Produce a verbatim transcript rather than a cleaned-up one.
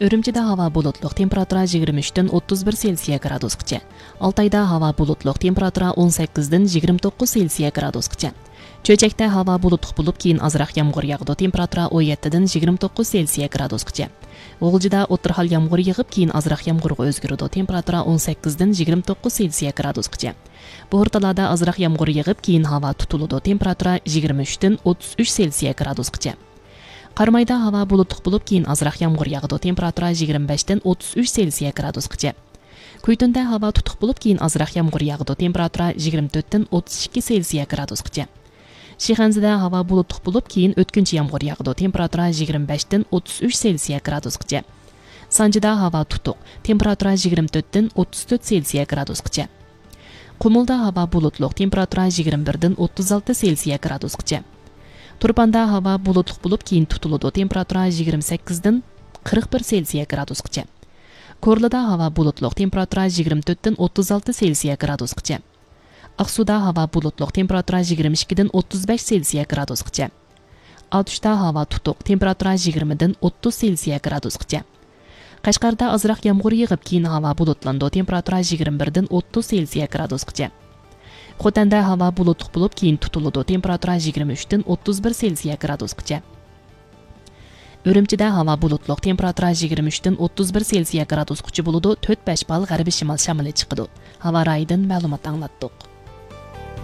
Үрүмчүдө хаба булутлук, температура жыйырма үчтөн отуз бир Цельсия градускача. Алтайда хаба булутлук, температура он сегизден жыйырма тогуз Цельсия градускача. Чөйчөктө хаба булуттук болуп, кийин азыраак ямгыр ягды, температура он жетиден жыйырма тогуз Цельсия градускача. Оголжуда отурхал ямгыр ягып, кийин азыраак ямгырга өзгөрүүдө, температура он сегизден жыйырма тогуз Цельсия градускача. Борталада азыраак ямгыр ягып, кийин хаба тутулууда, температура жыйырма үчтөн отуз үч Цельсия градускача. Кармайда хаба булуттук болуп, кийин азыраак ямгыр ягды, температура жыйырма бештен отуз үч Цельсия градускача. Көйтөндө хаба тутук болуп, кийин азыраак ямгыр ягды, температура жыйырма төрттөн отуз эки Цельсия градускача. Шиханзада хаба булуттук болуп, кийин өткүнчү ямгыр ягды, температура жыйырма бештен отуз үч Цельсия градускача. Санжыда хаба тутук, температура жыйырма төрттөн отуз төрт Цельсия градускача. Кумулда хаба булутлук, температура жыйырма бирден отуз алты Цельсия градускача. Турпанда хаба булутлук болуп, кийин тутулууда, температура жыйырма сегизден кырк бир Цельсия градускача. Корлуда хаба булутлук, температура жыйырма төрттөн отуз алты Цельсия градускача. Аксуда хаба булутлук, температура жыйырма экиден отуз беш Цельсия градускача. Алтышта хаба тутук, температура жыйырмадан отуз Цельсия градускача. Кашкарда азыраак ямгыр ягып, кийин хаба булутланды, температура жыйырма бирден отуз Цельсия градускача. Хотанда хаба булуттук болуп, кийин тутулууда, температура жыйырма үчтөн отуз бир Цельсия градускача. Үрүмчүдө хаба булутлук, температура жыйырма үчтөн отуз бир Цельсия градускача болууда, төрт беш балл гарбий шымал шамалы чыкты. Хаба райынан маалымат аңлаттык.